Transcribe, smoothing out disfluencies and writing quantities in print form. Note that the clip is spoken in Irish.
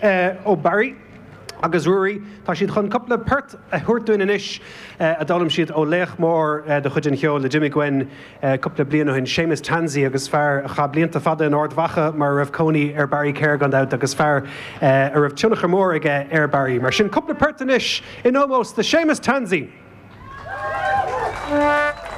ó Barry agus Ruairí. Tá siad chun cúpla port a thabhairt dúinn anois a d'fhoghlaim siad ó laoch mór de chuid an cheoil a d'imigh uainn cúpla bliain ó shin, Séamus Tansey, agus fear a chaith blianta fada in Ard Mhacha mar a raibh cónaí ar Barry Kerr gan dabht agus fear a raibh tionchar mór aige ar Barry. Mar sin, cúpla port anois in ómós do Séamus Tansey!